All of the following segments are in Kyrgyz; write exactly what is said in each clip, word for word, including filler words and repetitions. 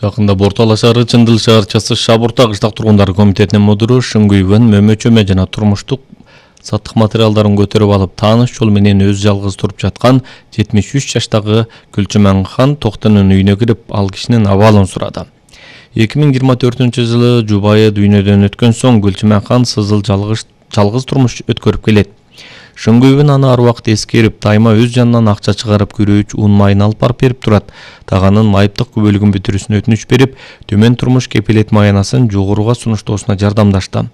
Жакында Бортала шаары Чындыл шаарчасы Шабурта кыштак тургундары комитетинин мудуру Шыңгүйбөн мөмөчөмө жана турмуштук саттык материалдарын көтөрүп алып, тааныш жол менен өз жалгыз туруп жаткан жетимиш үч жаштагы Гүлчүманхан Токтонун үйүнө кирип, ал кишинин абалын сурады. эки миң жыйырма төртүнчү жылы жубайы дүйнөдөн өткөн соң Гүлчүманхан сызыл жалгыз жалгыз турмуш өткөрүп келет. Шыңгүйбөн аны ар убакыт эскерип, тайма өз жанынан акча чыгарып, күрөөч ун майын алып барып берип турат. Таганын майыптык күбөлүгүн бүтүрүүсүнө өтүнүч берип, төмөн турмуш кепилет маянасын жогоруга сунуштоосуна жардамдашты.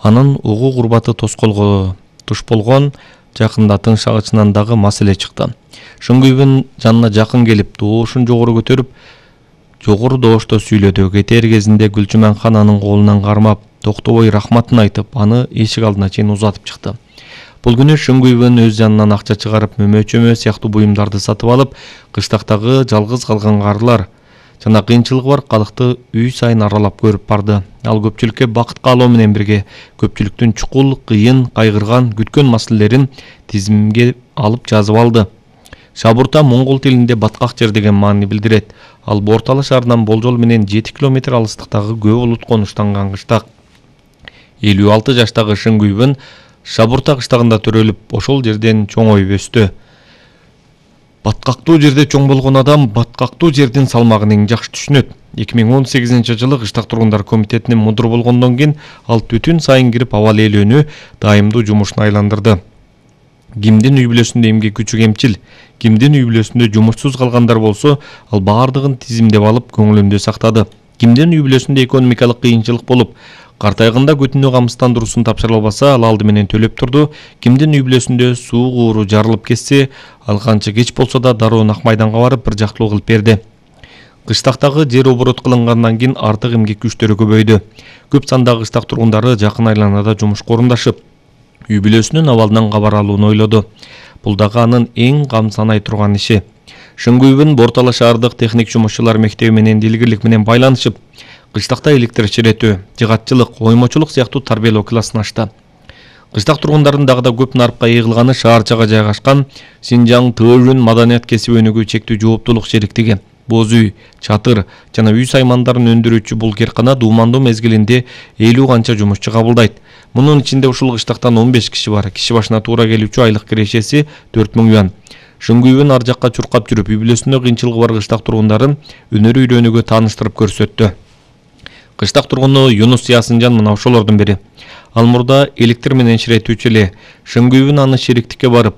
Анын угуу курбаты тоскоолго туш болгон жакында тың шагычынан дагы маселе чыкты. Шыңгүйбөн жанына жакын келип, доошун жогору көтөрүп, жогору доошто сүйлөдү. Кетер кезинде Гүлчүманхан анын колунан кармап, токтобой рахматын айтып, аны эшик алдына чейин узатып чыкты. Бул күнү Шыңгүйбөн өз жанынан акча чыгарып, мөмөчөмө сыяктуу буюмдарды сатып алып, кыштактагы жалгыз калган карылар жана кыйынчылыгы бар калыкты үй сайын аралап көрүп барды. Ал көпчүлүккө бакыт каалоо менен бирге көпчүлүктүн чукул, кыйын, кайгырган, күткөн маселелерин тизимге алып жазып алды. Шабурта моңгол тилинде баткак жер деген маани билдирет. Ал Бортала шаарынан болжол менен жети километр алыстыктагы көп улут конуштанган кыштак. элүү алты жаштагы Шыңгүйбөн Шабурта кыштагында төрөлүп, ошол жерден чоңоюп өстү. Баткактуу жерде чоң болгон адам баткактуу жердин салмагын эң жакшы түшүнөт. эки миң он сегизинчи жылы кыштак тургундар комитетинин мудуру болгондон кийин ал түтүн сайын кирип абал ээлөөнү дайымдуу жумушуна айландырды. Кимдин үй бүлөсүндө эмгек күчү кемчил, кимдин үй бүлөсүндө жумушсуз калгандар болсо, ал баардыгын тизимдеп алып көңүлүндө сактады. Кимдин үй бүлөсүндө экономикалык кыйынчылык болуп, картайганда күтүнүү камсыздандыруусун тапшыра албаса, ал алды менен төлөп турду. Кимдин үй бүлөсүндө суу кууру жарылып кетсе, ал канча кеч болсо да дароо Ак майданга барып бир жактылуу кылып берди. Кыштактагы жер оборот кылынгандан кийин артык эмгек күчтөрү көбөйдү. Көп сандагы кыштак тургундары жакын айланада жумушка орундашып, үй бүлөсүнүн абалынан кабар алууну ойлоду. Бул дагы анын эң кам санай турган иши. Шыңгүйбөн Бортала шаардык техник жумушчулар мектеби менен дилгирлик менен байланышып, кыштакта электр чиретүү, жыгатчылык, оймочулук сыяктуу тарбиялоо классын ачты. Кыштак тургундарын дагы да көп нарыпка ыйгылганы шаарчага жайгашкан Синжаң Тыжын маданият кесип өнүгүү чектүү жооптуулук шериктиги. Боз үй, чатыр жана үй саймандарын өндүрүүчү бул керкана дуумандуу мезгилинде элүү канча жумушчу кабылдайт. Мунун ичинде ушул кыштактан он беш киши бар. Киши башына туура келүүчү айлык кирешеси төрт миң юан. Шыңгүйбөн ар жакка чуркап жүрүп, үй бүлөсүндө кыйынчылыгы бар кыштак тургундарын өнөр үйрөнүүгө тааныштырып көрсөттү. Кыштак тургуну Юнус Ясынжан мына ошолордун бири. Ал мурда электр менен ширетүүчү эле. Шыңгүйбөн аны шериктикке барып,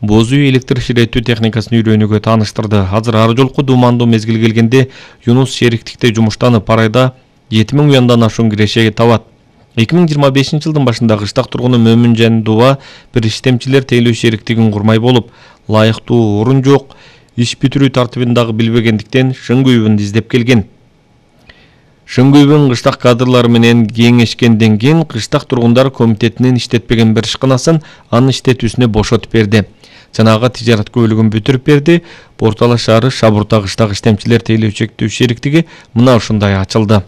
боз үй электр ширетүү техникасын үйрөнүүгө тааныштырды. Азыр ар жолку дуумандуу мезгил келгенде Юнус шериктикте жумуштанып, айда жети миң юандан ашуун киреше табат. эки миң жыйырма бешинчи жылдын башында кыштак тургуну Мөмүнжан Дуба бир иштемчилер тейлөө шериктигин курмай болуп, лайыктуу орун жок, иш бүтүрүү тартибин дагы билбегендиктен Шыңгүйбөндү издеп келген. Шыңгүйбөн кыштак кадрлары менен кеңешкенден кийин кыштак тургундар комитетинин иштетпеген бир ишканасын анын иштетүүсүнө бошотуп берди. Жанагы тижарат көбөлүгүн бүтүрүп берди. Бортала шаары Шабурта кыштак иштемчилер тейлөө чектүү шериктиги мына ушундай ачылды.